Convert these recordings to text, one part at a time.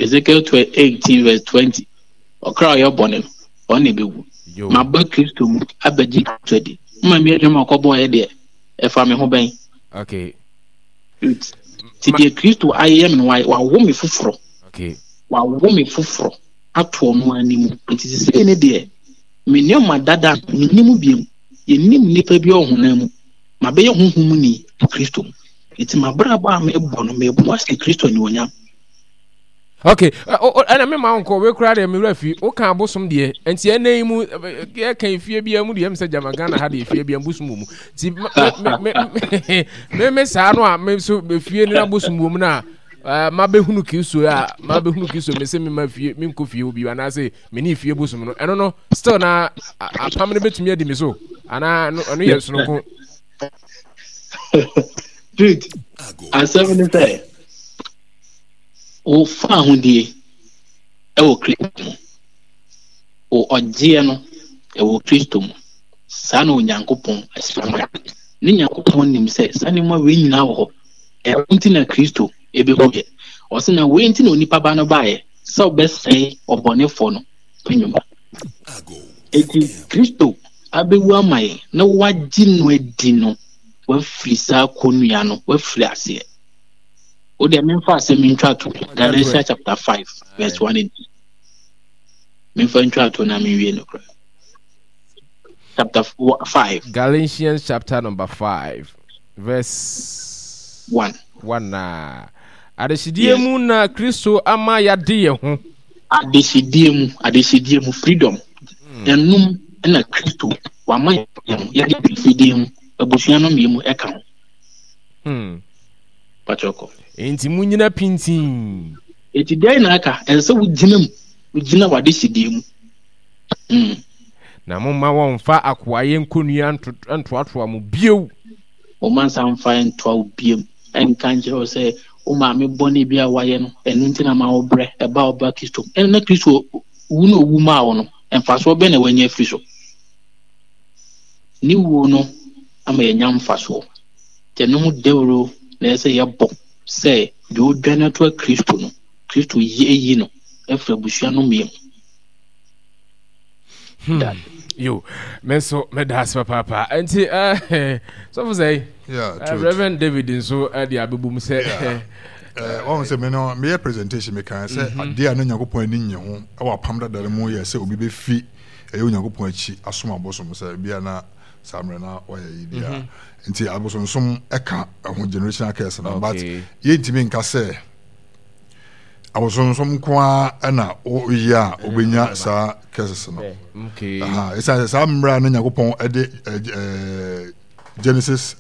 Ezekiel 18 verse 20. Ɔkra a ɔyɛ bɔne no, ɔno na ɛbɛwu. Maba Kristo mu abɛgye Kristo adi. Mma mi adwuma ɔkɔbɔɔyɛ deɛ, ɛfa me ho bɛn? Okay. Nti deɛ Kristo ayɛ me no, wawo me foforɔ. Okay. Wawo me foforɔ ato ɔno anim. Nti sesei ne deɛ, me nneɛma dada no, mennim biom. Yɛnnim nnipa bi ɔhonam mu. Mabɛyɛ honhom mu ni wɔ Kristo mu. Nti m'abrabɔ a mebɔ no, mebɔ ahyɛ Kristo anuonyam. Ok, ɛna me ma wo nkɔ, wei koraa deɛ me werɛ fi, woka abosom deɛ, nti ɛnɛ yi mu, yɛka efie biara mu deɛ, ɛm sɛ gyama Ghana ha deɛ efie biara bosom wɔ mu, nti me me me me saa no a, me nso efie no abosom wɔ mu no a, mabɛhunu Kristo a, mabɛhunu Kristo, me se me ma fie, me nkɔ fie hɔ bio, anaasɛ me ne fie bosom no, ɛno no, still na apam no bɛtumi adi me so, anaa ɛno yɛ sononko. Dude, asɛm ne sɛ, Wo fahodie wɔ Kristo mu. Wo ɔgyeɛ no wɔ Kristo mu. Saa na Onyankopɔn ahyira no. Ne Nyankopɔn nim sɛ saa nneɛma wei nyinaa wɔ hɔ. Ɛno nti na Kristo bɛwuiɛ. Ɔse na wei nti na onipa ba no baeɛ, sɛ ɔbɛsɛe ɔbɔnefoɔ no nnwuma. Enti Kristo abɛwu ama yɛn na woagye no adi no, woafiri saa kɔnnua no, woafiri aseɛ. Wo deɛ memfa asɛm ntwa to Galatians chapter 5 verse 1 and 2. Memfa ntwa to na menwie no koraa. Chapter 5. Galatians chapter number 5 verse 1. 1 na adehyedie mu na Kristo ama yɛade yɛn ho. Adehyedie mu, adehyedie mu, freedom. Ɛnum na Kristo wama yɛn ho, yɛde fidie mu, abusua no mmienu ɛka ho. Pakyɛ kɔ. Enti munnyina pintinn. Enti dɛn na aka? Ɛsɛ sɛ wogyina mu, wogyina w'adehyedie mu. Mm. Na momma wɔmmfa akoayɛ nkonnua ntoatoa mo bio. Momma nsa mfa ntoa wo bio. Ɛnka nkyerɛ wo sɛ wo maame bɔne bi a wayɛ no, ɛno nti na ma wobrɛ, ɛba a woba Kristo mu. Ɛno na Kristo wu na owu maa wo no, mfasoɔ bɛn na wanya afiri so? Ne wuo no ama yɛanya mfasoɔ. Nti ɛno ho dawuro na ɛsɛ sɛ yɛbɔ sɛ deɛ ɔdwane atoa Kristo no, Kristo yi ayi no afiri abusua nnɔmmeɛ mu. Hmm. Yo, me nso meda ase papaapa. Nti eh, sɔfo sɛ yeah, eh, Reverend David nso eh, de abɛbom sɛ yeah. Wɔn sɛ me no meyɛ presentation mekaa sɛ mhm. adeɛ a na Nyankopɔn ani nye ho wɔ apam dada no mu yɛ sɛ obi bɛfi ɛyɛ Onyankopɔn akyi asom abosom sɛ bia na saa mmerɛ na wɔyɛ yi bia mhm. Nti abosonsom ɛka ɛho generational curse no but yɛntumi nka sɛ abosonsom nko ara ɛna woyɛ a wobɛnya saa curses no. Ɛsiane sɛ saa mmerɛ a na Nyankopɔn ɛde Genesis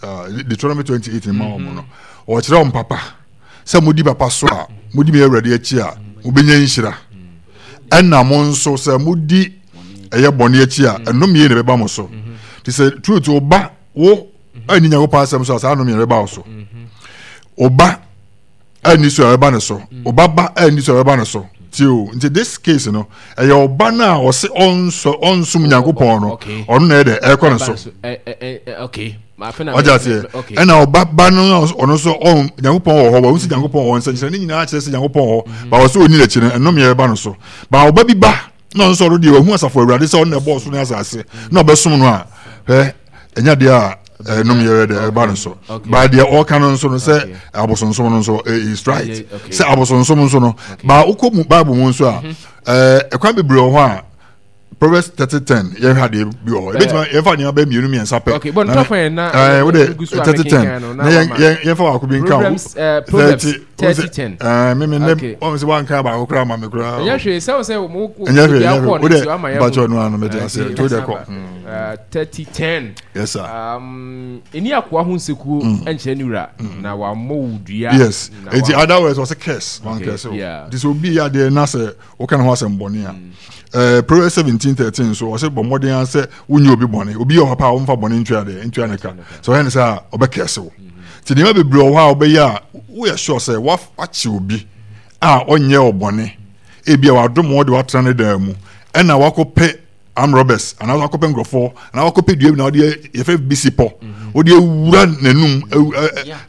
Deuteronomy 28 ma wɔn no ɔkyerɛ wɔn papa sɛ modi papa so a modi me Awurade akyi a mobɛnya nhyira ɛna mo nso sɛ modi ɛyɛ bɔne akyi a ɛnomyɛ na ɛbɛba mo so nti sɛ truth wo ba wo anni nyankopɔn asɛm so a saa nnome ɛbɛba wo so wo ba anni so a ɛbɛba ne so wo ba ba anni so a ɛbɛba ne so ti o nti this case no ɛyɛ ɔba no a ɔse ɔnsɔ ɔnsom nyankopɔn no ɔno na ɛyɛ dɛ ɛkɔ ne so ɔgye aseɛ ɛna ɔba ba no ɔno nso ɔn nyankopɔn wɔ hɔ wɔn si nyankopɔn wɔ hɔ nsɛnkyerɛ ne nyinaa kyerɛ sɛ nyankopɔn wɔ hɔ ba ɔsɛ ɔni n'akyi no ɛnome ɛbɛba no so ba ɔba bi ba na ɔno nso ɔno deɛ wahu asafo awurade sɛ ɔno na ɛbɔɔ soro ne asase na ɔbɛsom no a hwɛ ɛnya deɛ a ɛnom yɛ dɛ ɛba no so ba deɛ ɔka no nso no sɛ abosonsom no nso is right sɛ abosonsom nso no ba wokɔ mu bible mu nso a ɛkwan bebree wɔ hɔ a Proverbs 30:10 yɛhwɛ adeɛ bi wɔ hɔ ebɛtumi yɛmfa nneɛma bɛyɛ mmienu mmiɛnsa pɛ na wode 30:10 na yɛmfa baako bi nka ho 30 10 ɛɛ mímí ne wɔn sɛ wɔn nka baako koraa ma mi koraa ɛnyɛ hwee sɛ sɛ mo ɛnyɛ hwee ɛnyɛ hwee o de bàtɛ ɔno ano mɛ de ase to de kɔ. 30 10 yes sir. Ɛni akoa ho nsekuo nkyerɛ ne wura na wammɔ wo dua. Yes eti other words ɔsɛ curse wɔn curse o ti sɛ obi yɛ adeɛ na sɛ wɔka ne ho asɛm bɔne a ɛɛ Proverbs 17:13 nso ɔsɛ bɔ mmɔden ara sɛ wonyɛ obi bɔne obi yɛ ɔpapa a wɔmfa bɔne ntua deɛ ntua ne ka sɛ ɔyɛ ne sɛ a ɔbɛ curse wo. Nti nneɛma bebree wɔ hɔ a wobɛyɛ a woyɛ sure sɛ wakye obi a ɔnyɛ ɔbɔne ebi a wadom wɔde watena ne dan mu ɛna wakɔpɛ armed robbers anaa wakɔpɛ nkurɔfoɔ anaa wakɔpɛ dua bi na wɔde yɛfrɛ bisi pɔ wɔde awura n'anum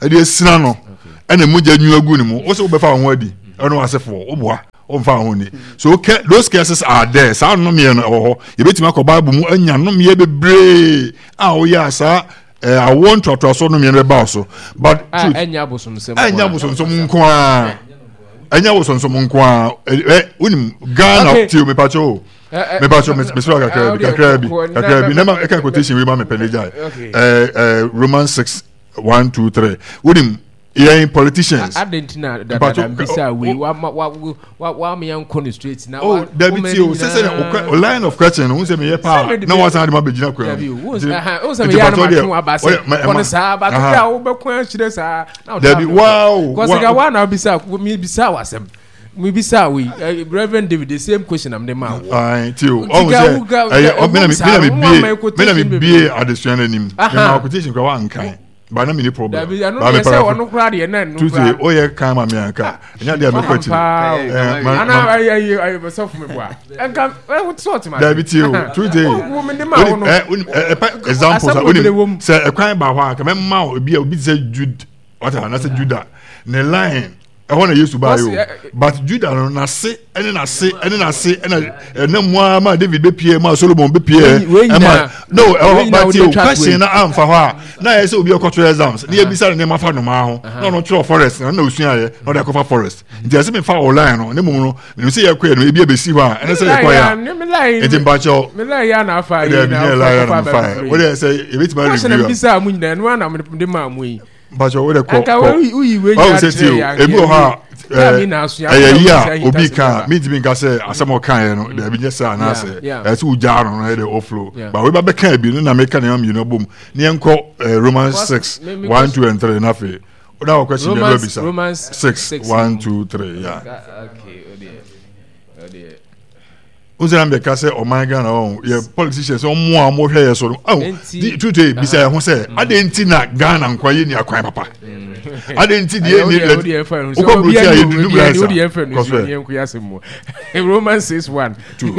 ɛde asina no ɛna mogya nwu agu ne mu wosɛ wobɛfa wo ho adi ɛne w'asefoɔ woboa. ɔmfa ho ni. So those curses are there. Saa nnomeɛ no ɛwɔ hɔ. Yɛbɛtumi akɔ Bible mu anya nnomeɛ bebree a woyɛ a saa eh, awoɔ ntoatoasoɔ nnomeɛ no bɛba wo so. But truth, ɛnyɛ abosomsɛm ɛnyɛ abosomsɛm nko ara. Ɛnyɛ abosomsɛm nko ara. Ɛ wonim Ghana tio mepakyɛ o. Mepakyɛ mesrɛ kakra bi kakra bi kakra bi na ma ɛka quotation wei ma mepɛ ne gyae. Ɛɛ Romans 6 1 2 3. Wonim yɛn politicians. Adɛn nti na dadada mbisa wei wama wa wa wama yɛn nkɔ no straight na. Oh dabi ti o sɛ sɛ o line of question no n sɛ meyɛ paa na wasan de ma bɛ gyina kwan mu. Dabi o n sɛ meyɛ anam atwe wa ba sɛ kɔ no saa ba to a wobɛko akyerɛ saa. Dabi wow. Kɔsika wa na bisa mi bisa wasɛm. Mi bisa wei Reverend David the same question am de ma wo. Ayi ti o ɔhun sɛ ɛyɛ ɔ mi na mi bie mi na mi bie adesua n'anim. Mi ma quotation kura wa nkan. Ba na mi ni problem. Dabi ɛno deɛ sɛ ɔno koraa deɛ na ɛno koraa. Tuesday o yɛ kan ma mi anka. Ɛnyɛ deɛ mekɔ akyiri. Ana ayi ayi ayi sɔfo mi bua. Nka ɛwɔ ti sɔɔti ma. Dabi ti o Tuesday. Wo mi de ma wo no. Ɛ ɛ ɛpɛ example sa onim sɛ ɛkwan ba hɔ a kɛmɛ ma o ebi a obi ti sɛ Jude wata anasɛ Judah ne line ɛhɔ na yesu baa yi o but juda no n'ase ɛne n'ase ɛne n'ase ɛna ɛna mu ara ma david bɛ pie ma solomon bɛ pie ɛma no ɛhɔ but o question na anfa hɔ a na yɛ sɛ obi ɔkɔtɔ exams ne yɛ bisa ne nneɛma fa nnomaa ho na ɔno twerɛ forest na ɔna osua yɛ na ɔde akɔfa forest nti ɛsɛ mi fa wɔ line no ne mu no menim sɛ yɛkɔ yɛ no ebi ebesi hɔ a ɛne sɛ yɛkɔ yɛ a nti mpakyɛw ɛdɛ bi nyɛ line na mefa yɛ o de sɛ ebetumi review a. mpatsɔ wo de kɔ kɔ ɔwɔ sɛ ti o ebi wɔ hɔ a ɛyɛ yi a obi ka mi ntumi nka sɛ asɛm ɔka yɛ no dɛbi nyɛ sɛ anaasɛ ɛsɛ wo gyaa no no yɛ de ɔflo ba wo ba bɛka ebi no na meka nneɛma mmienu abom ne yɛn kɔ Romans 6 1 2 and 3 n'afei na wɔ question bi ɛdɔ bisa 6 1 2 3 ya. N sɛ mbɛka sɛ ɔman Ghana ɔn yɛ politicians ɔmo a ɔmo hwɛ yɛ so no ɔn di tutu bisa yɛ ho sɛ mm. adɛn nti na Ghana nkwa yɛ ni akwan papa mm. adɛn nti deɛ ni lɛ wokɔ buruti a yɛ dundum rice a kɔsɛ Romans 6 1 2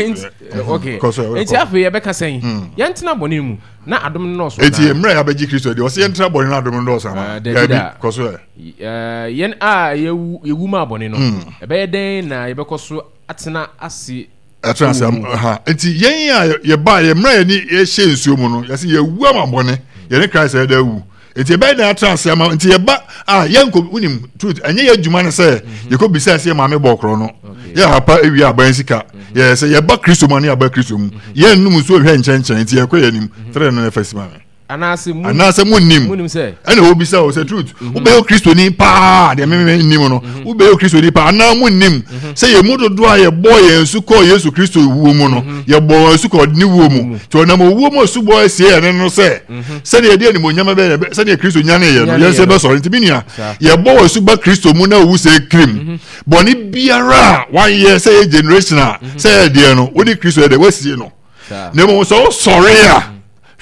okay nti afei yɛbɛka sɛn mm. yɛntena bɔne mu na adom no dɔɔso eti mmerɛ yɛabɛgye Kristo deɛ ɔsɛ yɛntena bɔne na adom no dɔɔso ama dabi kɔsɛ yɛn a yɛwu ma bɔne no ɛbɛyɛ dɛn na yɛbɛkɔ so atena ase atena ase ha nti yɛn a yɛba yɛ mmerɛ yɛne yɛhyɛ nsuo mu no yɛsɛ yɛwu ama bɔne yɛne Christ yɛda awu nti yɛbɛyɛ dɛn atena ase ama nti yɛba a yɛnkɔ wonim truth ɛnyɛ yɛ adwuma no sɛ mhm. yɛkɔ bisa sɛ yɛ maame bɔ korɔ no yɛ hapa ewie aban sika mhm. yɛ sɛ yɛba Kristo mu ne yɛaba Kristo mu mhm. yɛnnum nsuo nhwɛ nkyɛnkyɛn nti yɛkɔ yɛn anim tẹrɛ no ɛfɛ si ma me. Anaasɛ mu anaasɛ monnim monnim sɛ ɛna wɔbisa o sɛ truth mhm. wobɛyɛ kristoni paa deɛ meme nnim no mhm. wobɛyɛ kristoni paa anaa monnim mhm. sɛ yɛn mu dodoɔ a yɛbɔɔ yɛn su kɔɔ yesu kristo wuo mu no yɛbɔɔ yɛn su kɔɔ ne wuo mu nti ɔnam owuo mu asubɔ asie yɛne no sɛ sɛdeɛ yɛde animonyam bɛyɛ sɛdeɛ kristo nyaneeɛ no yɛn nso yɛbɛsɔre nti me nua yɛbɔ wɔ su ba kristo mu na owu sɛ kirim bɔne biara a wayɛ sɛ yɛ generation a sɛ yɛ deɛ no wode kristo yɛ dɛ wasie no na mmom sɛ wosɔre a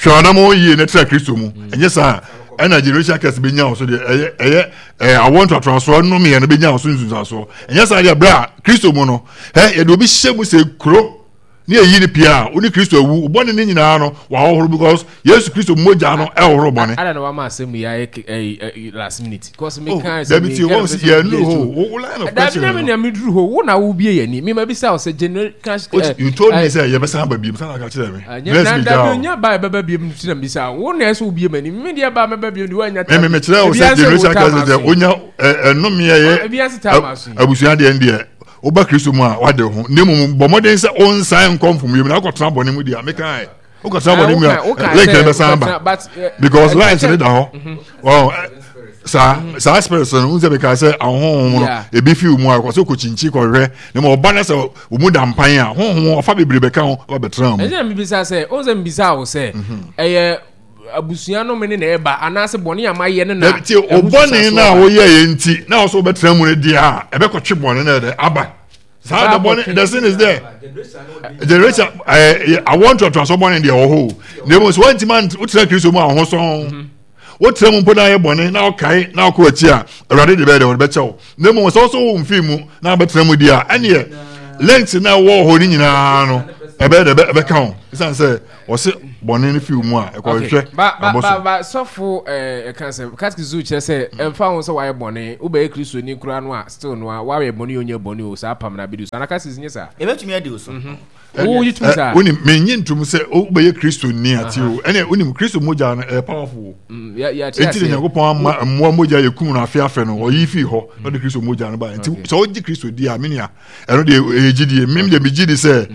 hwɛ ɔnam yie na tra kristo mu mm. ɛnyɛ saa ɛna generation curse bɛnya wo so deɛ ɛyɛ ɛyɛ ɛyɛ awɔ ntoatoasoɔ nnomeɛ no bɛnya wo so nsunsuansoɔ ɛnyɛ saa deɛ berɛ a kristo mu no ɛ yɛde obi hyɛ mu sɛ kuro ne ɛyi ne pia a wo ne kristo awu bɔne ne nyinaa no wahohoro because yesu kristo mogya no ɛhohoro bɔne. ada na wama asɛm yi ayɛ last minute cause me oh, kan sɛ me kan sɛ yɛ nu hɔ wo line of question no. Dabi na mi na mi duru hɔ wo na wo bie yɛ ni mi ma bi sa ɔsɛ general cash. Eh, you told me sɛ yɛ bɛ san ba biem san ka kyerɛ mi. Bless me down. Dabi onya ba yɛ bɛ ba biem ti na mi sa wo na ɛsɛ wo bie ma ni mi deɛ ba mɛ ba biem de wa nya ta. Mɛ mɛ kyerɛ wo sɛ generation cash sɛ onya ɛnumiɛ yɛ abusua deɛ deɛ woba kristo mu a wade ho na mmom bɔ mmɔden sɛ wonsan nkɔ mfomyɛ mu na akɔtena bɔne mu deɛ a mekae wokɔtena bɔne mu a link no bɛsan ba because lines no da hɔ mhm. saa mhm. saa spirit no n sɛ meka sɛ ahonhom no ebi fi mu a kɔ sɛ kɔkyinkyin kɔhwɛ na ma ɔba no sɛ ɔmu da mpan a honhom ɔfa bebree bɛka ho ɔba bɛtena mu. Ɛnyɛ mebisa sɛ ɔn sɛ mebisa wo sɛ mhm. ɛyɛ abusua no me ne na ɛba anaasɛ bɔne a mayɛ no na ɛho bɔne no a woyɛ yɛ nti na ɔsɛ wobɛtena mu no deɛ a ɛbɛkɔtwe bɔne no ɛdɛ aba saa the bɔne the sin is there generation ɛɛ awɔ ntoatoaso bɔne deɛ wɔ hɔ o na emu sɛ wɔntumi wotena kristo mu a ɔho sɔn mhm. wotena mu mpo na ayɛ bɔne na ɔkae na ɔkɔ akyi a awurade de bɛyɛ deɛ ɔde bɛkyɛ wo na emu sɛ ɔsɔ wo mfi mu na abɛtena mu deɛ a ɛneɛ length na ɛwɔ hɔ ne nyinaa no. Ɛbɛyɛ dɛ ɛbɛka ho ɛsiane sɛ ɔse bɔne no fi wo mu a ɛkɔhwehwɛ abɔ so. Ba sɔfo ɛka sɛ katekisi kyerɛ sɛ ɛmfa ho sɛ wayɛ bɔne wobɛyɛ kristoni koraa no a still no a wayɛ bɔne o nyɛ bɔne o saa apam no abɛdi so ana katekisi nyɛ saa? Ɛbɛtumi adi wo so. Wogye tom saa? Wonim menye ntom sɛ wobɛyɛ kristoni ate o ɛne wonim kristo mogya no ɛyɛ powerful o enti na nyankopɔn ama mmoa mogya yɛ kum no afe afe no ɔyi fii hɔ na ɔde kristo mogya no ba nti sɛ wogye kristo di a menua ɛno deɛ ɛyɛ gyidie mem deɛ megye di sɛ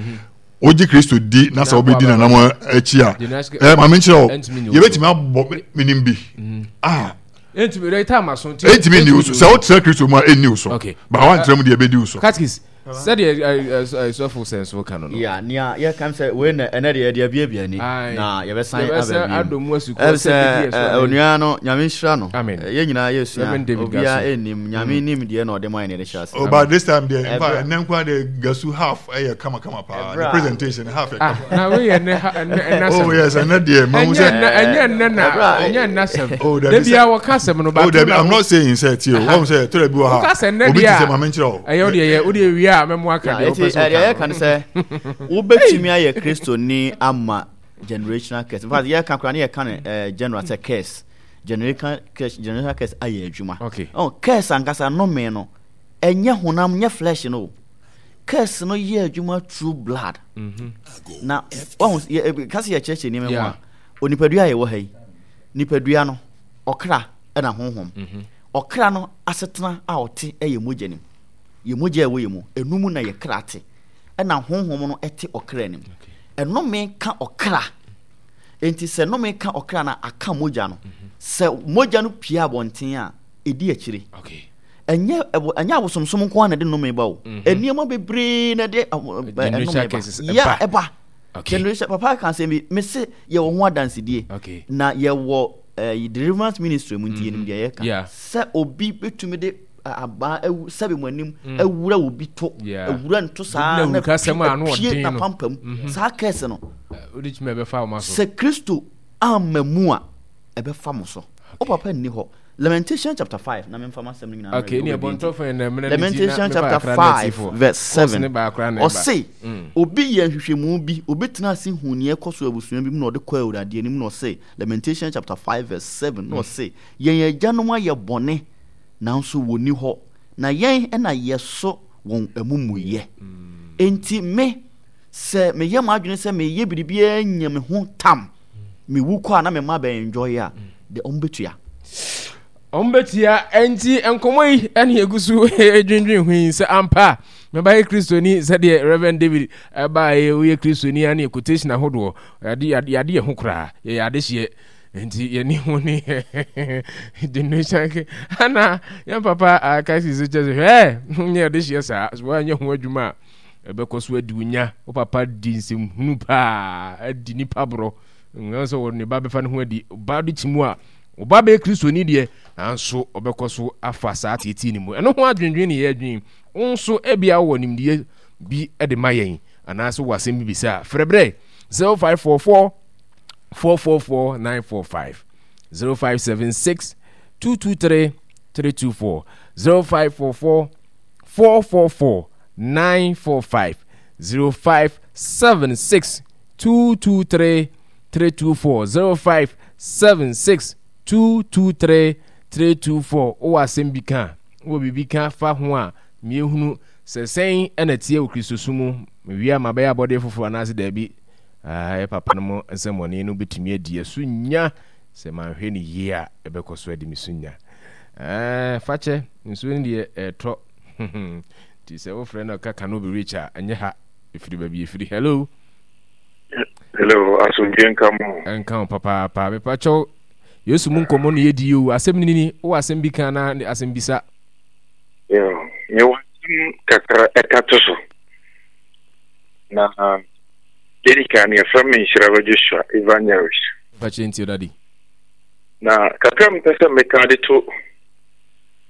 wogye kristo di na sɛ wobɛdi nanam akyi a ɛ maame nkyerɛ wo yɛbɛtumi abɔ menim bi a ɛntumi nni wo so sɛ wotra kristo mu a ɛnni wo so ba woantra mu deɛ ɛbɛdi wo so. Sɛdeɛ sɔfo sɛnso ka no no. Yeah, nea yɛka sɛ wei na ɛnɛ deɛ yɛde abiabia ani na yɛbɛsan aba bio mu ɛm sɛ onua no nyame nhyira no yɛn nyinaa yɛsua obiara ɛnnim nyame nim deɛ na ɔde ma yɛn na yɛde hyɛ ase. Oh, but this time deɛ nfa ɛnɛ nkwa deɛ gasu half ɛyɛ kama kama paa the presentation half yɛ kama. Na wei yɛ ɛnɛ ɛnɛ asɛm. Oh yes ɛnɛ deɛ mahu sɛ. Ɛnyɛ ɛnɛ na ɛnyɛ ɛnɛ asɛm. Oh dabi sɛ. Debi a wɔka asɛm no. Oh dabi I'm not saying sɛ tie o wɔn sɛ tɔrɔ bi wɔ ha. Wɔka sɛ ɛnɛ deɛ a. Obi ti sɛ maame nkyerɛ o. Ɛyɛ wodeɛ yɛ wodeɛ wie a mɛmo aka deɛ wopɛ sɛ woka. Ɛyɛ ka no sɛ wobɛtumi ayɛ Kristoni ama generational curse. In fact yɛka koraa ne yɛka no eh, general sɛ curse. Generational curse generational curse ayɛ adwuma. Okay. Oh, curse ankasa nnome no ɛnyɛ honam nyɛ flesh no. Curse no yɛ adwuma through blood. Mm -hmm. Na wahu yɛ kasi yɛkyerɛkyerɛ nneɛma mu a onipadua a yɛwɔ ha yi nipadua no ɔkra ɛna honhom. Mm -hmm. Ɔkra no asetena a ɔte yɛ mogya no mu. Yɛ mogya a ɛwɔ yɛ mu, ɛno mu na yɛ kra te. Ɛna honhom no te ɔkra no mu. Ɛnome ka ɔkra. Enti sɛ nome ka ɔkra no a, aka mogya no. Mhm. Sɛ mogya no pue abɔnten a, ɛdi akyire. Ɛnyɛ ɛnyɛ abosomsom nko ara na ɛde nnome ba o. Mhm. Nneɛma bebree na ɛde nnome ba. Ya ɛba. Generation papa ka asɛm bi, mese yɛwɔ ho adansedie. Na yɛwɔ eh, deliverance ministry mu nti yɛnim deɛ yɛka sɛ obi bɛtumi de abaa awu sɛbe mo anim mm. awura obi to awura nto saa na pie na pampam mm-hmm. saa kɛse no sɛ kristo amma mu a ɛbɛfa mo so wo papa nni hɔ Lamentation chapter 5 na memfa m'asɛm no nyinaa okay, Lamentation chapter 5 verse 7 ɔse mm. obi yɛ nhwehwɛmu bi obi tena ase hu nea ɛkɔ so abusua bi mu na ɔde kɔ awurade anim na ɔse Lamentation chapter 5 verse 7 na ɔse, Yɛn agyanom ayɛ bɔne, nanso wɔnni hɔ, na yɛn na yɛso wɔn amumuyɛ. Enti me, sɛ meyɛ m'adwene sɛ meyɛ biribiara nya me ho tam, mewu kɔ a na me mma bɛ enjoy a, de wɔn bɛtua. Wɔn bɛtua. Enti nkɔmmɔ yi ɛne egu so dwendwen ho yi sɛ ampa mɛbayɛ Kristoni sɛdeɛ Reverend David ɛbaeɛ woyɛ Kristoni a ne quotation ahodoɔ Yɛade yɛade yɛade yɛn ho koraa. Yɛyɛ adehyeɛ. Nti yɛne ho ne generation ke. Ana yɛn papa akasi so kyɛ sɛ hwɛ nyɛ adehyeɛ saa. So woanyɛ ho adwuma a ɛbɛkɔ so adi wo nya. Wo papa di nsɛmhunu paa, adi nipa borɔ. Ngan sɛ wɔ ne ba bɛfa ne ho adi. Ba de kyi mu a, ɔba bɛyɛ Kristoni deɛ, nanso ɔbɛkɔ so afa saa teetee no mu. Ɛno ho adwendwen ne yɛadwen. Wo nso ebia wowɔ nimdeɛ bi de ma yɛn anaasɛ wowɔ asɛm bi bisa a, frɛ brɛ 0544 444 945 0576 223 324 0544 444 945 0576 223 324 0576 223 324 wowɔ asɛm bi ka wowɔ biribi ka fa ho a miehunu sɛ sɛn na ɛteɛ wɔ Kristosom mu Mewie a mabɛyɛ abɔdeɛ foforɔ anaase daabi? Aah papa no mo nsɛmmɔne no bɛtumi adi ɛso nya sɛ manhwɛ no yie a ɛbɛkɔ so adi me so nya. Aah fakyɛ nsuo no deɛ ɛretɔ nti sɛ wofrɛ no ka cannot be rich a ɛnyɛ ha ɛfiri baabi ɛfiri. Hello. Hello, asomdwe nka mo. Nka wo papaapa. Mepakyɛw Yesu mu nkɔmmɔ no yɛdi yi o. Asɛm no ni, wowɔ asɛm bi ka anaa asɛm bisa? Yo, mewɔ asɛm kakra ɛka to so. Na dedi kan no yɛfrɛ me Nhyiraba Joshua Evangelist. Mpakyɛ nti dadi. Na kakra mepɛ sɛ meka de to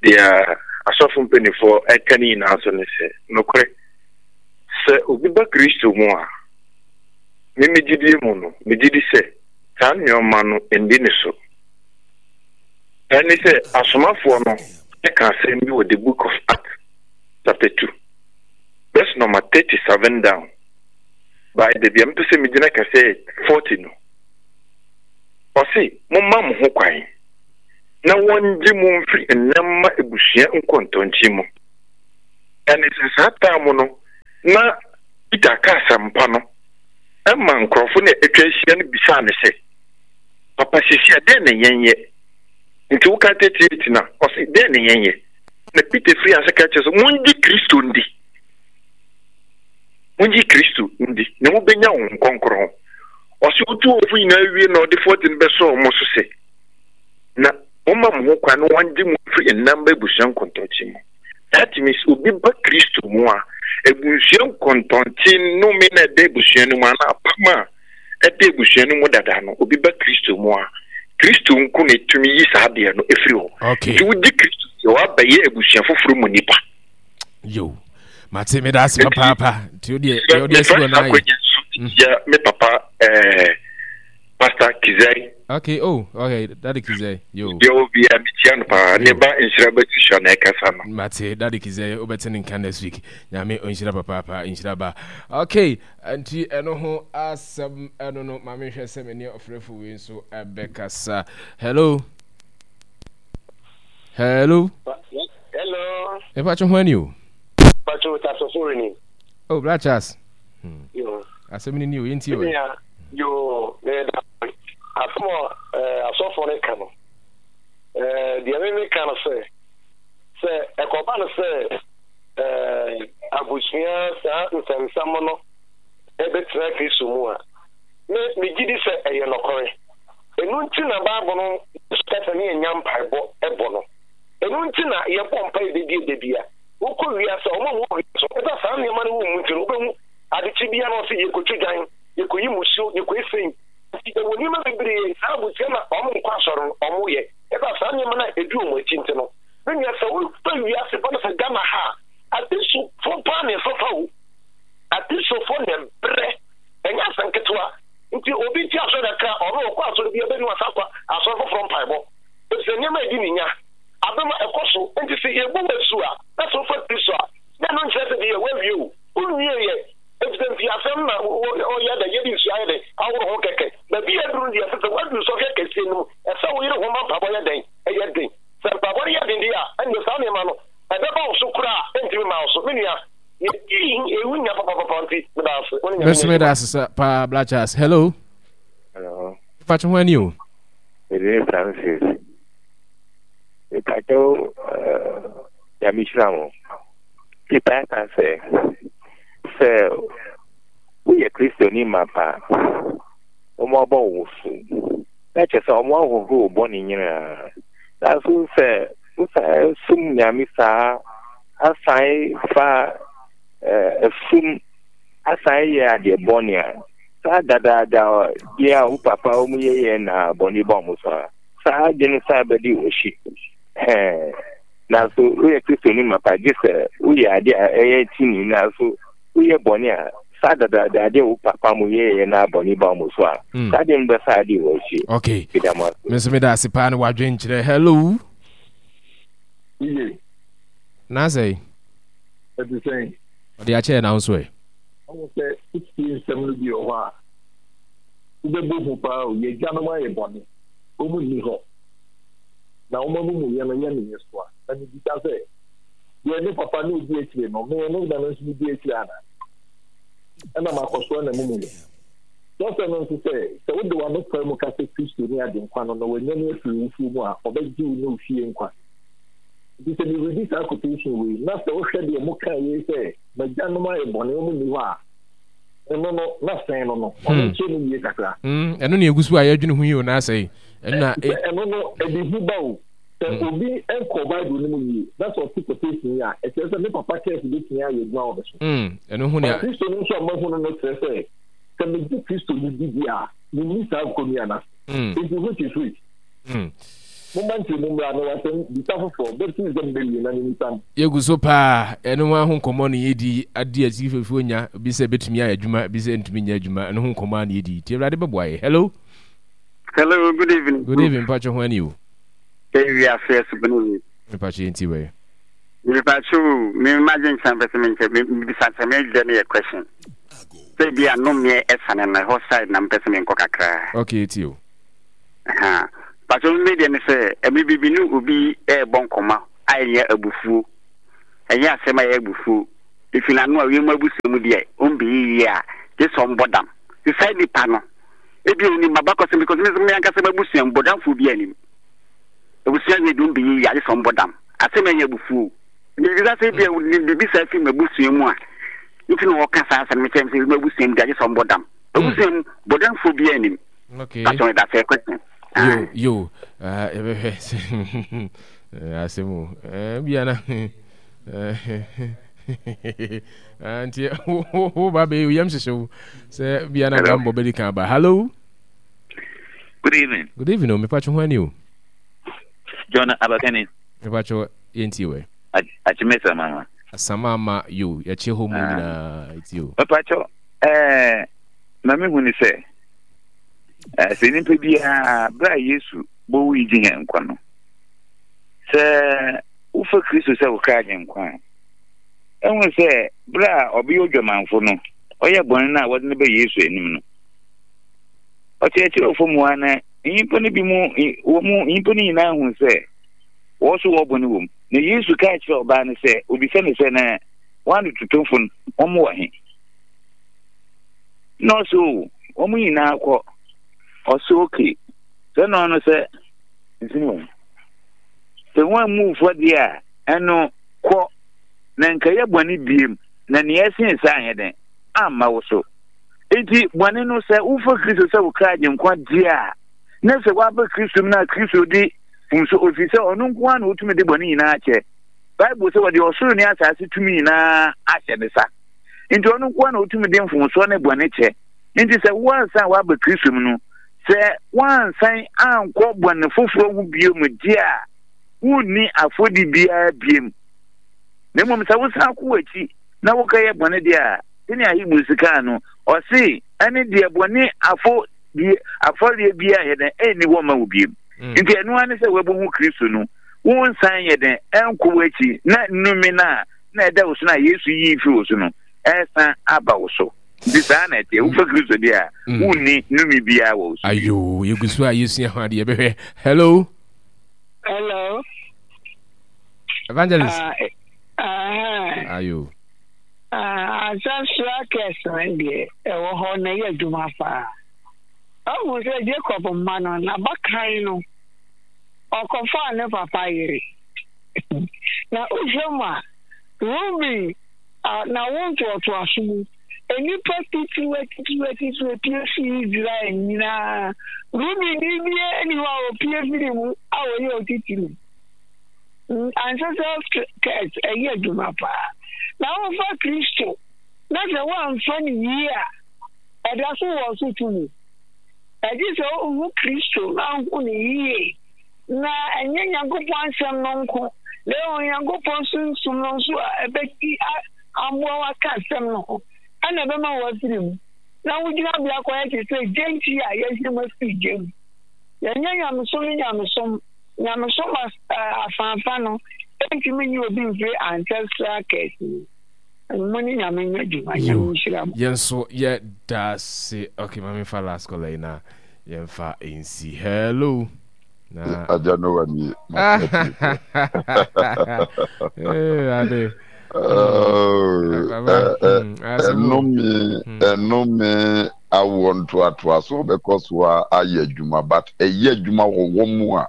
deɛ asɔfo mpanimfoɔ ɛka ne nyinaa so ne sɛ nokorɛ sɛ obi ba Kristo mu a me me gyidie mu no megye di sɛ saa nneɛma no ndi ne so. Ɛne sɛ asomafoɔ no ɛka asɛm bi wɔ the book of Acts chapter 2 verse number 37 down. By baabi a mepɛ sɛ megyina kɛsɛ yɛ 40 no. Ɔse, momma mo ho kwan na wɔngye mo mfiri nnɛmma abusua nkɔntɔnkye mu. Ɛne sɛ saa time no na Peter ka asɛmpa no ma nkurɔfo no a atwa ahyia no bisaa no sɛ, Papa, sisi a dɛn na yɛnyɛ? Nti woka 38 no a, ɔse, dɛn na yɛnyɛ? Na Peter firi ase ka kyerɛ sɛ, mongye Kristo ndi. Mongye Kristo ndi, na mobɛnya Honhom Kronkron. Ɔse wotu wɔn fo nyinaa wie na ɔde 40 no bɛsɔɔ wɔn so sɛ, Na momma mo ho kwan na wɔngye mo mfiri nnamba abusua nkontɔnkye mu. That means obi ba Kristo mu a, abusua nkɔntɔnkye nnome na ɛda abusua no mu anaa apam a ɛda abusua no mu dada no, obi ba Kristo mu a, Kristo nko na etumi yi saa adeɛ no efiri hɔ. Okay. Nti wogye Kristo deɛ wabɛyɛ abusua foforɔ mu nipa. Yo, mate meda ase papaapa. Nti o deɛ deɛ ɔde asi hɔ no ayɛ. Ya me papa ɛɛ eh, Pastor Kizai. Okay, oh, okay, Daddy Kizai, yo. Deɛ obi a mekyia no paa, ne ba nhyira bɛtuhyia na ɛkasa no. Mate, Daddy Kizai, wobɛte ne nka next week. Nyame ɔnhyira papaapa, nhyira ba. Okay, nti ɛno ho asɛm ɛno no, ma menhwɛ sɛ me ne ɔfrɛfo wei nso ɛbɛkasa. Hello. Hello. Hello. Mepa ho ani o. Pacho tasofo ni. Oh, Bra Charles. Hmm. Yo. Asɛm ni ni o, yɛntie o. Yoo, meda asɛm a eh, asɔfoɔ no ka no. Eh, deɛ me meka no sɛ, sɛ ɛkɔba no sɛ eh, abusua saa nsɛmsɛm no ɛbɛtena Kristo mu a, me megye di sɛ ɛyɛ nɔkɔre. Ɛno nti na Bible no ka sɛ ne yɛnya mpaebɔ ɛbɔ no. Ɛno nti na yɛbɔ mpae da bi da bi a. Wokɔ wiase a, wɔn a wɔwɔ wiase no, ɛsɛ saa nneɛma no wɔ mu nti no, wobɛhu adekye biara na ɔsɛ yɛkɔtwa dwan. Yɛkɔyi mmusuo, yɛkɔyi sei. Nti ɛwɔ nneɛma bebree saa abusua no a wɔn nkɔ asɔre no wɔn yɛ. Ɛba saa nneɛma no a ɛdi wɔn akyi nti no, me nua sɛ wofa wiase fa no sɛ Ghana ha a, Akristofoɔ paa na ɛfafa o. Akristofoɔ na ɛbrɛ, ɛnyɛ asɛm ketewa. Nti obi te asɔre kakra a, ɔno ɔkɔ asɔre bi a ɛbɛnu asa akɔ asɔre foforɔ mpaebɔ. Ɛfiri sɛ nneɛma a ɛdi ne nya. Abɛma ɛkɔ so. Nti sɛ yɛbɔ wo asu a, na sɛ wofa Kristo a, na ɛno nkyerɛ sɛ deɛ woawie o. Wonwieɛ. Efisɛ mfiasɛm na ɔyɛ dɛ, yɛde nsu ayɛ dɛn ahoro ho kɛkɛ. Baabi a aduru no deɛ, ɛsɛ sɛ woaduru sɔhwɛ kɛseɛ no mu. Ɛsɛ wo yere ho ma mpaebɔ yɛ dɛn? Ɛyɛ den. Sɛ mpaebɔ no yɛ den deɛ a, ɛnneɛ saa nneɛma no, ɛbɛba wo so koraa a, ɛntumi mma wo so. Me nua, yɛdi ewu nya papapapa nti, meda ase. Wo ne Nyame Me nso nyɛ meda adwuma. ase sa paa Bla Charles. Hello. Hello. Mpacho ho ani o. Mede ne Francis. Mepakyɛw eh, Nyame hyira mo. Peter ka sɛ, sɛ woyɛ Kristoni mapa a, wɔabɔ wo so. Na kyerɛ sɛ wɔahohoro wo bɔne nyinaa. Nanso sɛ wosan som Nyame saa, asan fa ɛsum, asan yɛ adeɛ bɔne a, saa dadaada deɛ a wo papa wɔn yɛyɛ na bɔne ba wɔn so a, saa ade no san bɛdi wɔn akyi. Ɛhɛn. Nanso woyɛ Kristoni mapa gye sɛ woyɛ ade a ɛyɛ trenee nanso woyɛ bɔne a, saa dadaada ade a wo papa mo yɛeɛ na bɔne ba mo so a, mm. saa ade no bɛsa ade wɔ akyi. Okay. Meda mo ase. Me nso meda ase paa ne wadwenkyerɛ. Hello. Iye. Na sɛe. Ɛte sɛn? Ɔde akyɛ na nso ɛ. Ɔwɔ sɛ wotie nsɛm no bi wɔ hɔ a, wobɛbɔ hu paa o. Yɛn agyanom ayɛ bɔne. Wɔn nni hɔ. na wɔn amumuyɛ no yɛ me nyesoa. Na mibisa sɛ, Deɛ me papa ne odi akyire no, me no na me nso medi akyire anaa? Ɛna makɔsoa n'amumuyɛ. Kyerɛwsɛm no nso sɛ, Sɛ wode w'ano pae mu ka sɛ Kristo ne Agyenkwa no na wɔanya no afiri awufoɔ mu a, ɔbɛgye wo ne wo fie nkwa. Nti sɛ meredi saa quotation wei, na sɛ wohwɛ deɛ mokaa yei sɛ, M'agyanom ayɛ bɔne, wɔn nni hɔ a, ɛno no, na sɛn no no, ɔno hmm. nkyerɛ mu yie kakra. Hmm, ɛno na egu so a yɛdwene ho yi o na asɛe. Ɛna e ɛno no ɛde hu ba o. Sɛ hmm. obi nkɔ Bible no mu yie na sɛ ɔte quotation yi a, ɛkyerɛ sɛ me papa kɛse betumi ayɛ adwuma wɔ me so. Ɛno ho nea. Kristo no nso a mahu no no kyerɛ sɛ sɛ megye Kristo no di di a, menni saa nkonnua no ase. Nti which is which? Momma nkyerɛmu mmra na wasɛm bisa foforɔ baptism bɛwie na memisa no. Yɛgu so paa, ɛno ho ho nkɔmmɔ na yɛdi, ade a akyirifoɔ nya, bi sɛ ɛbɛtumi ayɛ adwuma, bi sɛ ɛntumi nyɛ adwuma, ɛno ho nkɔmmɔ a na yɛdi. Nti Awurade bɛboa yɛ. Hello. Hello, good evening. Good evening, mpakyɛ ho ani o. Ewi ase asubene yi. Mpakyɛ yɛn ti wɛ. Mpakyɛ o, me ma gye nkyɛn pɛsɛ me nkyɛn, me bisa nkyɛn me deɛ no yɛ question. Sɛ bi a nomeɛ ɛsane no ɛhɔ side na mepɛ sɛ menkɔ kakraa. Okay, tie o. Aha. Pakyɛ me deɛ ne sɛ ɛmɛ bi bi ne obi ɛɛbɔ nkɔmɔ a ɛnyɛ abufuo. Ɛnyɛ asɛm a ɛyɛ abufuo. Efi n'ano a wiem abusua mu deɛ ɔmbɛyɛ yie a gye sɛ ɔmbɔ dam. Nti saa nipa no ebi onim m'abakɔsɛm because me nso me ankasa m'abusua mu bɔdamfoɔ bi anim. Abusua wei deɛ ɔmbɛyɛ yie a gye sɛ ɔmbɔ dam. Asɛm a ɛnyɛ abufuo. Mebisa sɛ ebia wonim biribi saa fi m'abusua mu a nti na wɔka saa asɛm no kyerɛ me sɛ m'abusua mu de agye sɛ ɔmbɔ dam. M'abusua mu bɔdamfoɔ biara nnim. Okay. Pastor that's a question. Yo, yo, yɛbɛhwɛ sɛ asɛm o. Bia na nti wo ba bɛyɛ yam hyehye wo sɛ bia na gambɔ bɛdi kan ba. Hello. Good evening. Good evening o, mepatwo ho ani o. John Abakani. Mepakyɛw yɛntie wɛ. Akyeme Samama. Samama yo yɛkye hɔ mu ah. nyinaa ɛti o. Mepakyɛw ɛɛ ma me hu ne sɛ ɛɛ sɛ nipa biara bere a Yesu bɔwu yi gye yɛn nkwa no sɛ wofa Kristo sɛ wo kra gye nkwa a ɛhu sɛ bere a ɔbɛyɛ odwamanfo no ɔyɛ bɔne no a wɔde no bɛ Yesu anim no ɔkyerɛkyerɛfo mu a na nyimpa no bi mu wɔ mu nyimpa no nyinaa hu sɛ wɔn nso wɔ bɔne wɔ mu. Na Yesu kaa kyerɛɛ ɔbaa no sɛ, obisa no sɛ, Na wɔn adototofo no, wɔn wɔ he? Na ɔsɛ o, wɔn nyinaa kɔ. Ɔsɛ oke, sɛ na ɔno sɛ nsini wɔn. Sɛ wɔn ammu fɔ deɛ a, ɛno kɔ, na nka yɛ bɔne biem, na nea ɛsen saa anyɛ dɛn amma wo so. Enti bɔne no, sɛ wofa Kristo sɛ wo kra agyenkwa deɛ a, na sɛ woaba Kristo mu na Kristo de mfomso, ɛfiri sɛ ɔno nko ara na ɔtumi de bɔne nyinaa kyɛ. Bible sɛ wɔde ɔsoro ne asase tumi nyinaa ahyɛ ne sa. Nti ɔno nko ara na ɔtumi de mfomsoɔ ne bɔne kyɛ. Nti sɛ woansan woaba Kristo mu no, sɛ woansan ankɔ bɔne foforɔ ho bio mu deɛ a, wonni afɔdi biara biom. Na mmom sɛ wosan kɔ w'akyi na wokɛyɛ bɔne deɛ a, sɛnea Hebrews kaa no, ɔse ɛne deɛ bɔne afɔ bi afɔreɛ biara yɛ dɛn ɛnni hɔ ma wo biom. Mm. Nti ɛno ara ne sɛ woabuhu Kristo no, wonsan yɛ dɛn ɛnkɔ w'akyi na nnome no a na ɛda wo so no a Yesu yii firi wo so no ɛsan aba wo so. Nti saa na ɛteɛ. Wofa Kristo deɛ a, mm. wonni nnome biara wɔ wo so. Ayo, yɛgu so a yɛsua ho adeɛ bɛhwɛ. Hello. Hello. Evangelist. Uh, Ayo. Uh, ancestral curse no deɛ ɛwɔ hɔ na ɛyɛ adwuma paa. Ɔhu sɛ Jacob mma no, n'abakan no, ɔkɔfaa ne papa yere. Na wohwɛ mu a, Ruben n'awo ntoatoaso mu, nnipa titiriw atitiriw atitiriw apue fii Israel nyinaa. Rubenni biara nni hɔ a opue firi mu a ɔyɛ otitiriw. Ancestral curse ɛyɛ adwuma paa. Na wofa Kristo na sɛ woamfa no yie a, ɛda so wɔ so tumi. Ɛgye sɛ wohu Kristo na wohu no yie, na ɛnyɛ Nyankopɔn asɛm no nko, na mmom Nyankopɔn sunsum no nso a ɛbɛti aboa wo aka asɛm no ho, ɛna ɛbɛma woafiri mu, na wo gyinabea akɔyɛ te sɛ gyenkyi a yɛahwim afiri gya mu. Yɛnyɛ nyamesom ne nyamesom. Nyamesom afaafa no ntumi nyi obi mfiri ancestral curse mu. Mo ne Nyame nyɛ adwuma. Nyame nhyira mo. Yɛn nso yɛ da ase. Okay, ma memfa last caller yi na yɛmfa nsi. Hello. Na Agya Noah nie. Ade. Ɛnome ɛnome awoɔ ntoatoaso bɛkɔ so ayɛ adwuma but ɛyɛ adwuma wɔ wɔn mu a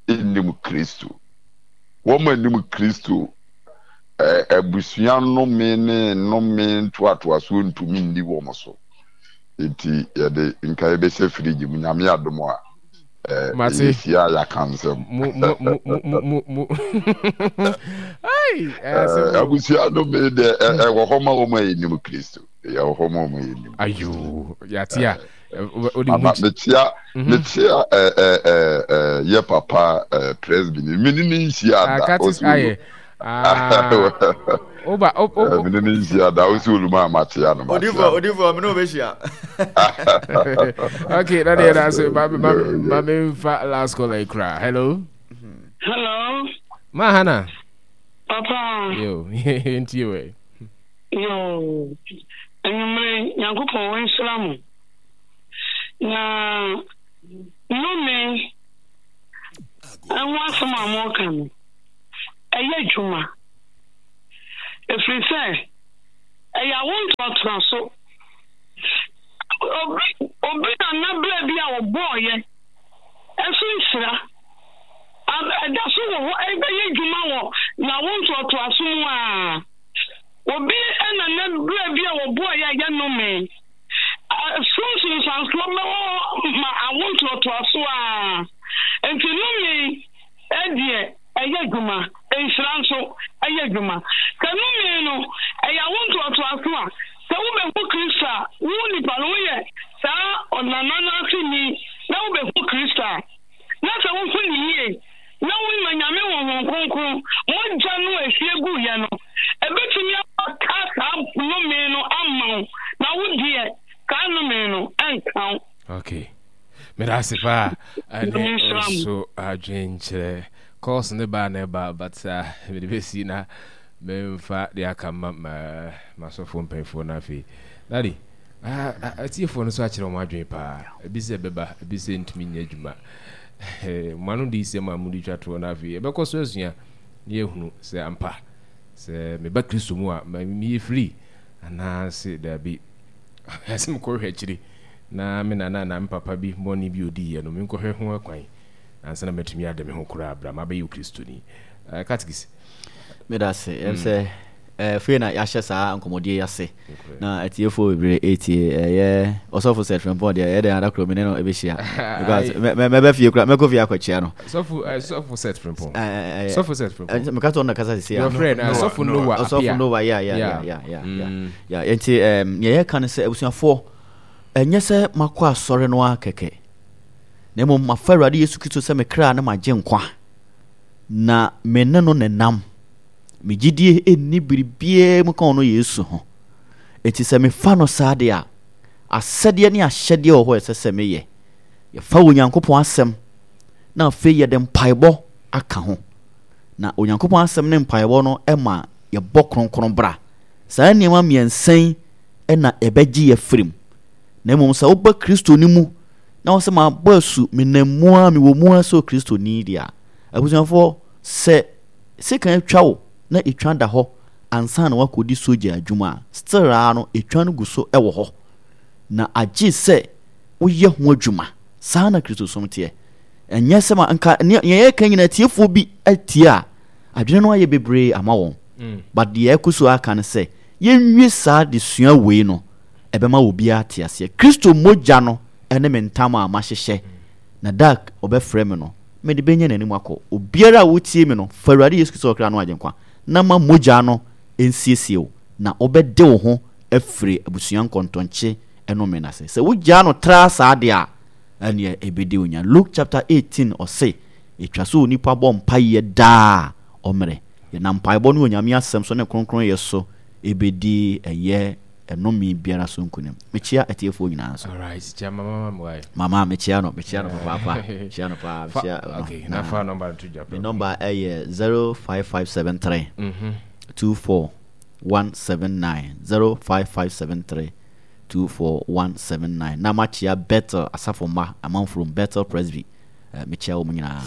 ɛnnim Kristo. Wɔn a ɛnim Kristo abusua nnome ne nnome ntoatoasoɔ ntumi nni wɔn so. Nti yɛde nka yɛbɛhyɛ firigye mu nyame adom a yɛhyia a yɛaka nsɛm. Abusua nnome deɛ ɛwɔ hɔ ma wɔn a yɛnim Kristo. Ɛwɔ hɔ ma wɔn a yɛnim. Ayo, yɛate a. Ama mekyia mekyia yɛ papa presby ni mene ne nhyia da ɔsi olu oba mene ne nhyia da ɔsi olu ma makyia no makyia odifo odifo mene obɛhyia okay na deɛ na ase ma ma ma memfa last call yi koraa hello hello ma hana papa yo ntie wɛ yo. Anwummere yi, Nyankopɔn ɔnhyira mo. Na nnome ho asɛm a moreka no, ɛyɛ adwuma. Ɛfiri sɛ, ɛyɛ awo ntoatoaso. Obi, obi nana berɛ bi a ɔbɔɔyɛ, ɛso nhyira. Ɛda so wɔ hɔ, ɛbɛyɛ adwuma wɔ n'awo ntoatoaso mu ara. Obi na ne berɛ bi a wɔboaeɛ a ɛyɛ nnome. So nsunsuansoɔ bɛwɔ hɔ ma awo ntoatoasoɔ ara. Enti nnome deɛ ɛyɛ adwuma, nhyira nso ɛyɛ adwuma. Sɛ nnome no ɛyɛ awo ntoatoasoɔ a, sɛ wobɛhu Kristo a, wo nipa no woyɛ saa ɔnana no aseni na wobɛhu Kristo a, na sɛ wohu no yie na woma Nyame Honhom Kronkron mogya no a ɛhwie guiɛ no, ɛbɛtumi apata saa nnome no ama wo, na wo deɛ saa nnome no ɛnka wo. Okay. Meda ase paa ɛne nso adwenkyerɛ calls ne baa na ɛba but uh, mede bɛsi na memfa de aka ma masɔfoɔ mpanyinfoɔ no afei daddy Atiefoɔ no nso akyerɛ wɔn adwene paa. Ebi sɛ ɛbɛba, ebi sɛ ɛntumi nyɛ adwuma. Mo ano diyisɛm a mode twa toɔ no afei yɛbɛkɔ so asua na yɛahunu sɛ ampa sɛ meba Kristo mu a meyɛ free anaase daabi. Ɛsɛ mekɔhwɛ akyiri na me nana anaa me papa bi bɔne bi odiiɛ no menkɔhwɛ ho akwan ansa na matumi ade me ho koraa berɛ a mabɛyɛ Okristoni. Katekis. Meda ase. Ɛm sɛ afei na yɛahyɛ saa nkɔmmɔdie yi ase na atiefoɔ bebree ɛretie. Ɛyɛ ɔsɔfo Seth Frimpong deɛ ɛyɛ dɛn ada koro me ne no ɛbɛhyia because mɛbɛ fie kora mɛkɔ fie akɔkyia no. Sɔfo sɔfo Seth Frimpong. Sɔfo Seth Frimpong. Meka sɛ ɔno na kasa sisi a. Your friend sɔfo Noah Appiah. Ɔsɔfo Noah yeah yeah yeah yeah yeah yeah. Nti nea yɛka ne sɛ abusuafoɔ ɛnyɛ sɛ makɔ asɔre no ara kɛkɛ na mmom mafa Awurade Yesu Kristo sɛ me kra ne magye nkwa. Na me ne no nenam. Me gyidie nni biribiara mu ka ɔno Yesu ho. Enti sɛ mefa no saa deɛ a, asɛdeɛ ne ahyɛdeɛ wɔ hɔ a ɛsɛ sɛ meyɛ. Yɛfa Onyankopɔn asɛm na afei yɛde mpaebɔ aka ho. Na Onyankopɔn asɛm ne mpaebɔ no ma yɛbɔ kronkron bra. Saa nneɛma mmiɛnsa yi na ɛbɛgye yɛ afiri mu. Na mmom sɛ woba Kristo no mu na wɔsɛ mabɔ asu, menam mu ara, mewɔ mu ara sɛ Okristoni deɛ a, abusuafoɔ, sɛ sekan atwa wo na etwa da hɔ ansa na woakɔdi sogya adwuma a, still ara no etwa no gu so wɔ hɔ. Na agye sɛ woyɛ ho adwuma. Saa na Kristosom teɛ. Ɛnyɛ sɛ ma nka nea yɛreka nyinaa atiefoɔ bi atie a, adwene no ayɛ bebree ama wɔn. Mm. But deɛ ɛkɔ so aka no sɛ yɛnwie saa desua wei no, ɛbɛma obiara ate aseɛ. Kristo mogya no ne me ntam a mahyehyɛ, na da a ɔbɛfrɛ me no, mede bɛnya n'anim akɔ. Obiara a wotie me no, fa Awurade Yesu Kristo ɔkra no Agyenkwa, na ma mogya no nsiesie wo, na wobɛde wo ho afiri abusua nkɔntɔnkye nnome no ase. Sɛ wogyaa no tra saa deɛ a, ɛnneɛ ɛbɛdi wo nya. Luke chapter 18 ɔse, ɛtwa sɛ onipa bɔ mpaeɛ daa ɔmmerɛ. Yɛnam mpaebɔ ne Onyame asɛm so ne kronkronyɛ so ɛbɛdi ɛyɛ ɛnome biara so nkonim. Mekyea atiefoɔ nyinaa nso. Alright, kyea mama ma me wae. Mama mekyea no, mekyea no papaapa. Mekyea no paa, mekyea no. Okay, na fa number no to dwa. Me number ɛyɛ 05573 24179 05573 24179 na makyea Bethel asafo mma amanfurom Bethel Presby. Eh, mekyia wɔn nyinaa.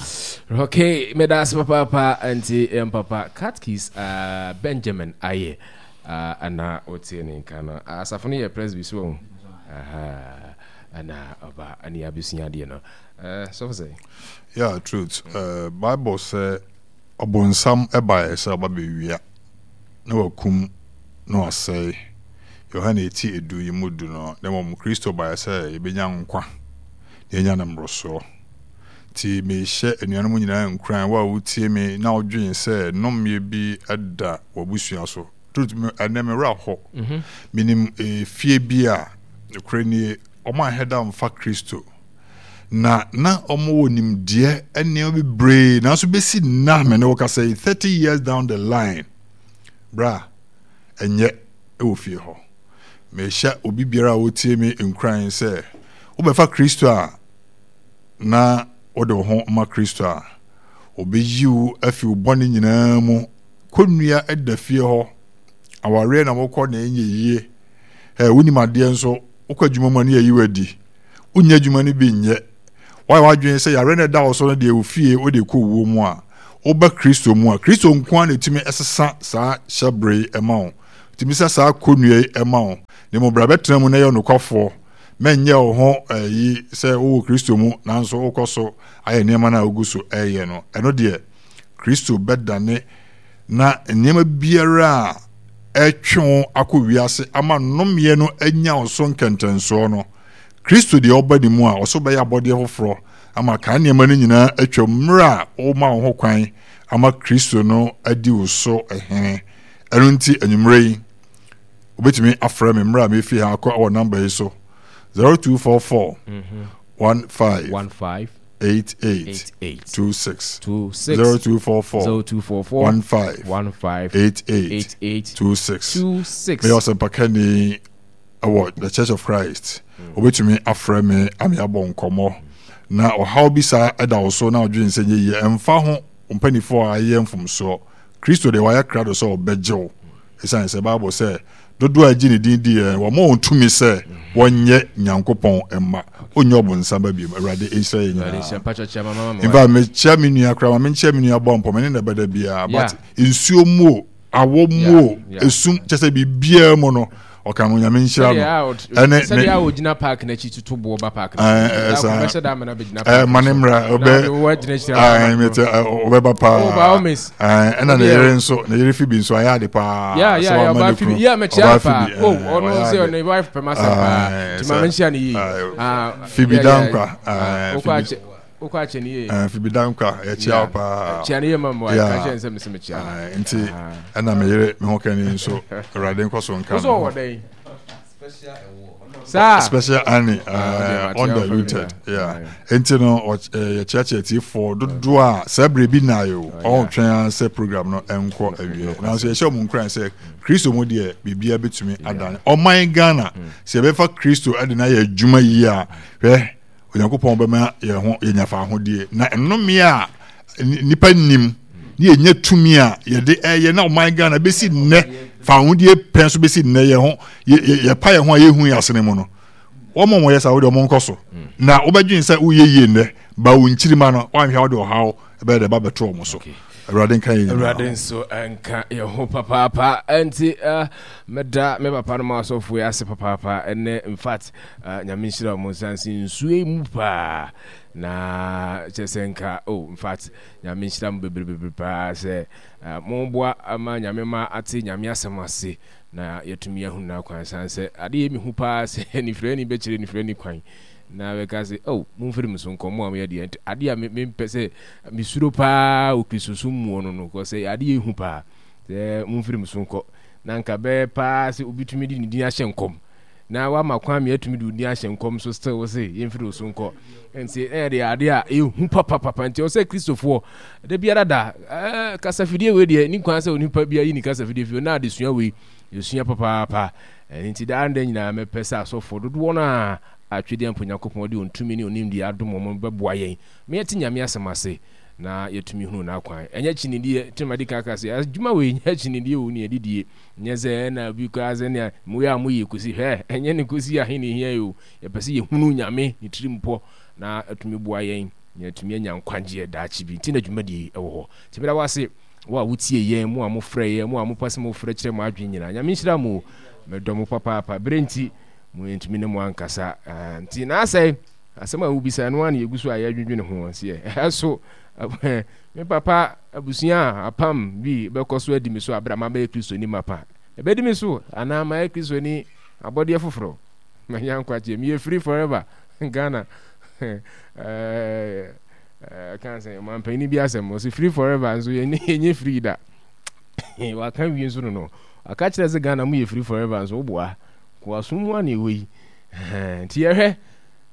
Okay, meda ase papaapa nti yɛn papa Catkis uh, Benjamin ayɛ uh, na wotie ne nka no. Asafo no yɛ Presby so wɔn. Aha, na ɔba ne abɛsua adeɛ no. Uh, sɔfo sɛ? Yeah, truth. Uh, Bible sɛ ɔbonsam ɛbaeɛ sɛ ɔba bɛwia na wakum na wasɛe. Yohane eti edu yi mu du no, na mmom Kristo baeɛ sɛ yɛbɛnya nkwa na yɛanya no mmorosoɔ. Nti mehyɛ anuanom nyinaa nkuran, wo a wotie me na wodwen sɛ nnɔmmeɛ bi da w'abusua so. Truth, me, ɛnɛ me werɛ ahɔ. Mhm. Menim efie bi a, nokorɛ nie, wɔn anhwɛ da mfa Kristo. Na na wɔn wɔ nimdeɛ nneɛma bebree, nanso bɛsi nna me ne wo kasa yi, 30 years down the line, bra, ɛnyɛ wɔ fie hɔ. Mehyɛ obi biara a ɔtie me nkuran sɛ wobɛfa Kristo a na wode wo ho ma Kristo a, ɔbɛyi wo afi wo bɔne nyinaa mu. Kɔnnua da fie hɔ, awareɛ na wokɔ na ɛnyɛ yie. Ɛ wonim adeɛ nso wokɔ adwuma mu a ne yɛyi wo adi. Wonnya adwuma no bi nyɛ. Woayɛ w'adwene sɛ yareɛ no a ɛda wo so no deɛ wo fie wode kɔ wuo mu a, woba Kristo mu a, Kristo nko ara na ɛtumi sesa saa hyɛberɛ yi ma wo. Ɛtumi sa saa kɔnnua yi ma wo. Na mmom bra bɛtena mu na yɛ ɔnokwafoɔ. Mɛnyɛ wo ho ayi sɛ wowɔ Kristo mu nanso wokɔ so ayɛ nneɛma no a wogu so ɛreyɛ no. Ɛno deɛ, Kristo bɛdane na nneɛma biara a ɛretwe wo akɔ wiase ama nnomeɛ no anya wo so nkɛntɛnsoɔ no, Kristo deɛ ɔba ne mu a, ɔso bɛyɛ abɔdeɛ foforɔ ama kan nneɛma no nyinaa atwam mmerɛ a woma wo ho kwan ama Kristo no adi wo so hene. Ɛno nti anwummerɛ yi, wobɛtumi afrɛ me mmerɛ a mefi ha akɔ wɔ namba yi so 0244 15 88 26 0244 15 88 26. Meyɛ ɔsɛmpakani wɔ The Church of Christ. Wobɛtumi afrɛ me ame abɔ nkɔmmɔ na ɔhaw bi saa ɛda wo so na ɔdwene sɛ nyɛ yie ɛmfa ho mpanifoɔ a ayɛ mfomsoɔ. Kristo deɛ wayɛ krado sɛ ɔbɛgye wo. Ɛsiane sɛ Bible sɛ dodoɔ a ɛgye ne din di yɛn wɔma wɔn tumi sɛ wɔnyɛ Nyankopɔn mma. Onyɛ ɔbonsam ba biom. Awurade nhyira yɛn nyinaa. In fact, mekyia me nua koraa ma menkyia me nua bɔ mpɔ me ne na ɛbɛda biara but nsuo mu o awɔ mu o esum kyɛ sɛ biribiara mu no ɔka no nyame nhyira no ɛne ne sɛdeɛ a ɔgyina park n'akyi tutu boɔ ba park n'akyi bɛhyɛ da amena bɛgyina park ma ne mmra ɔbɛ ɔbɛba paa ɛna ne yere nso ne yere fi bi nso ayɛ ade paa sɛ wama ne kunu ɔbaa fi bi ɔno sɛ ɔne wife pɛ ma sɛ paa nti ma menhyia ne yie Fibi Dankwa Wokɔ akyɛ ne yie. Eh, Fibi Dankwa, yɛkyia wo paa. Kyia ne yie ma mmoa, ka kyerɛ nsɛ mese mekyia no. Nti, ɛna me yere me ho kani nso, Awurade nkɔ so nka no. Wosɛ ɔwɔ dɛn? Saa. Special Annie, uh, undiluted. Yeah. Nti no, yɛkyeakyea tiefoɔ dodoɔ a saa berɛ bi na ayɛ o, ɔretwɛn ara sɛ program no nkɔ awie. Nanso yɛhyɛ wɔn nkuran sɛ Kristo mu deɛ biribiara bɛtumi adane. Ɔman Ghana, sɛ yɛbɛfa Kristo de no ayɛ adwuma yie a, hwɛ, Onyankopɔn bɛma yɛn ho yɛnya fahodie na nnome a nnipa nnim ne yɛnya tumi a yɛde ɛyɛ na ɔman Ghana bɛsi nnɛ fahodie pɛn so bɛsi nnɛ yɛn ho yɛpa yɛn ho a yɛhu yɛn asene mu no wɔn a wɔyɛ saa wɔde wɔn nkɔ so na wobɛdwen sɛ woyɛ yie nnɛ ba wo nkyirima no woanhwɛ wode ɔhaw ɛbɛyɛ dɛ ba bɛto wɔn so awurade nka yɛn nyinaa awurade nso nka yɛn ho papaapa ɛnti eh, mɛda me papa no ma asɔfoɔ yi ase papaapa ɛnɛ in fact Ah, Nyame nhyira mo nsansi nsuo yi mu paa na kyɛ sɛ nka oh in fact Nyame nhyira mo bebree paa sɛ ah, mo boa ama Nyame ma ate Nyame asɛm ase na yɛtumi ahunu n'akwan san sɛ ade yɛ mehu paa sɛ nifirani bɛkyerɛ nifirani kwan na bɛka sɛ oh momfiri me so nkɔ mo a moyɛ deɛ nti ade a mempɛ sɛ mesuro paa wɔ Kristosom muo no no kɔ sɛ ade yɛ hu paa sɛ momfiri me so nkɔ na nka bɛyɛ paa sɛ obi tumi de ne din ahyɛ nkɔm na wama kwan ma yɛatumi de wo din ahyɛ nkɔm so still wo se yɛmfiri wo so nkɔ nti ɛyɛ deɛ adeɛ a ɛhu papapapa nti ɔsɛ kristofoɔ da biara da ɛɛ kasafidie wei deɛ ni kwan sɛ onipa bi ayi ne kasafidie fi na adesua wei yɛsua papaapa ɛno nti daa nda nyinaa mɛpɛ sɛ asɔfoɔ dodoɔ no a atwedeɛ mpo nyankopɔn de ɔntumi ne ɔnimdeɛ adom wɔn bɛboa yɛn ma yɛte nyame asɛm ase na yɛtumi hunu n'akwan ɛnyɛ kyinideɛ tɛmadi kaka sɛ adwuma wei nyɛ kyinideɛ o ne adidie Nyɛ sɛ ɛna obi koraa sɛ nea moyɛ a moyɛ kosi hwɛ ɛnyɛ ne kosi ahe na ehia yi o yɛpɛ sɛ yɛhunu Nyame ne tirimpɔ na atumi boa yɛn na yɛatumi anya nkwagyeɛ daakye bi nti na dwumadie yi ɛwɔ hɔ nti meda wo ase wo a wotie yɛn mo a mofrɛ yɛn mo a mopɛ sɛ mofrɛ kyerɛ mo adwene nyinaa Nyame nhyira mo o medɔ mo papaapa berɛ nti mo yɛntumi ne mo ankasa nti na asɛe asɛm a wobisa ɛno ara na yɛgu so a yɛdwendwene ho seɛ ɛso Me papa abusua a apam bi bɛkɔ so adi me so bere a mabɛyɛ Kristoni mapa. Ebedi me so anaa mayɛ Kristoni abɔdeɛ foforɔ? Manya nkwagyeɛ. Meyɛ free forever. Ghana kan sɛ ɔmanpanyin bi asɛm ɔsɛ free forever nso yɛnyɛ free da. Waka wie nso no no. Waka kyerɛ sɛ Ghana mo yɛ free forever nso woboa. Koasom mu a na ɛwɔ yi. Nti yɛhwɛ.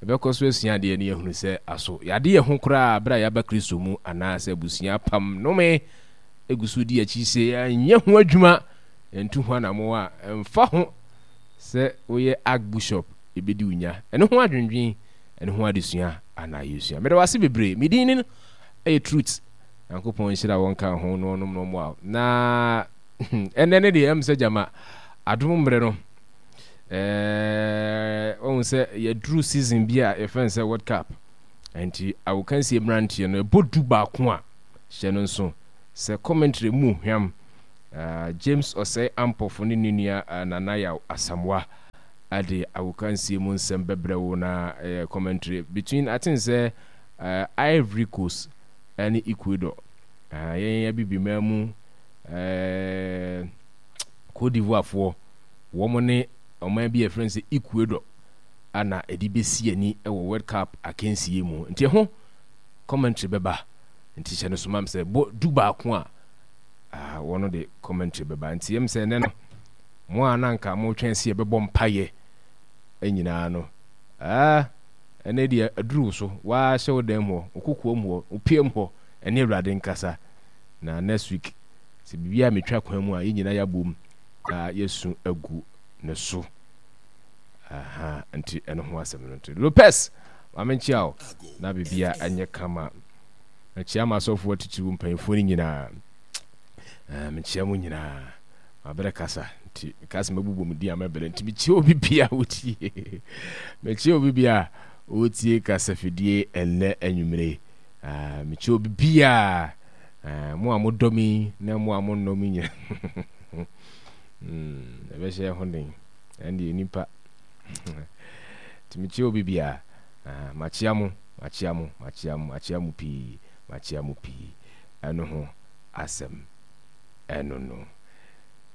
Yɛbɛkɔ so asua adeɛ na yɛahunu sɛ aso yɛade yɛn ho koraa berɛ a yɛaba Kristo mu anaasɛ abusua apam nnome gu so di akyi sɛ yɛanyɛ ho adwuma yɛntu ho anammɔn a ɛmfa ho sɛ woyɛ Archbishop yɛbɛdi wo nya. Ɛno ho adwendwen ɛno ho adesua ana yɛsua. Meda wo ase bebree. Me din ne ɛyɛ Truth. Nyankopɔn nhyira wo nka ho na ɔnom na ɔmmoa wo. Na ɛnnɛ ne deɛ ɛm sɛ gyama adom mmerɛ no. Ɛɛ wɔn sɛ yɛduru season bi a yɛfrɛ no sɛ World Cup. Nti agokansie mmeranteɛ no ɛbɔ du baako a hyɛ no nso sɛ commentary mu hwam. Uh, James Osei Ampofo ne ne nua uh, Nana Yaw Asamoah de agokansie mu nsɛm bɛbrɛ wo na uh, commentary between I think sɛ uh, Ivory Coast ne Ecuador. Uh, yɛn abibiman mu uh, Cote d'Ivoire foɔ wɔn ne ɔman bi a yɛfrɛ no sɛ Ecuador ana ɛde bɛsi ani wɔ World Cup akansie mu. Nti ɛho commentary bɛba. Nti hyɛ no so mam sɛ bɔ du baako a ah, wɔn de commentary bɛba. Nti yɛm sɛ ɛnɛ no mo a na nka motwɛn sɛ yɛbɛbɔ mpayɛ nyinaa no ah, ɛnɛ deɛ aduru wo so waa hyɛ wo dan mu hɔ, wo kokoam hɔ, wo piam hɔ ɛne Awurade nkasa. Na next week sɛ biribiara metwa kwan mu a yɛn nyinaa yɛabom na yɛasu agu ne so. Aha, nti ɛno ho asɛm no nti. Lopez, ma menkyia wo na biribiara ɛnyɛ kama. Mekyia m'asɔfoɔ atitiriw mpanyinfoɔ no nyinaa. Eh, mekyia mo nyinaa. Mabrɛ kasa nti meka sɛ mɛbobɔ mu din a mɛbrɛ nti mekyia obi bia wotie. Mekyia obi bia wotie kasafidie ɛnnɛ anwummere. Ah, mekyia obi bia ah, mo a modɔ me na mo a monnɔ me nyina. Hmm, ɛbɛhyɛ ho den. Ɛndeɛ nipa. Nti mekyia obi bia. Ah, makyia mo, makyia mo, makyia mo, makyia mo pii, makyia mo pii. Ɛno ho asɛm ɛno no.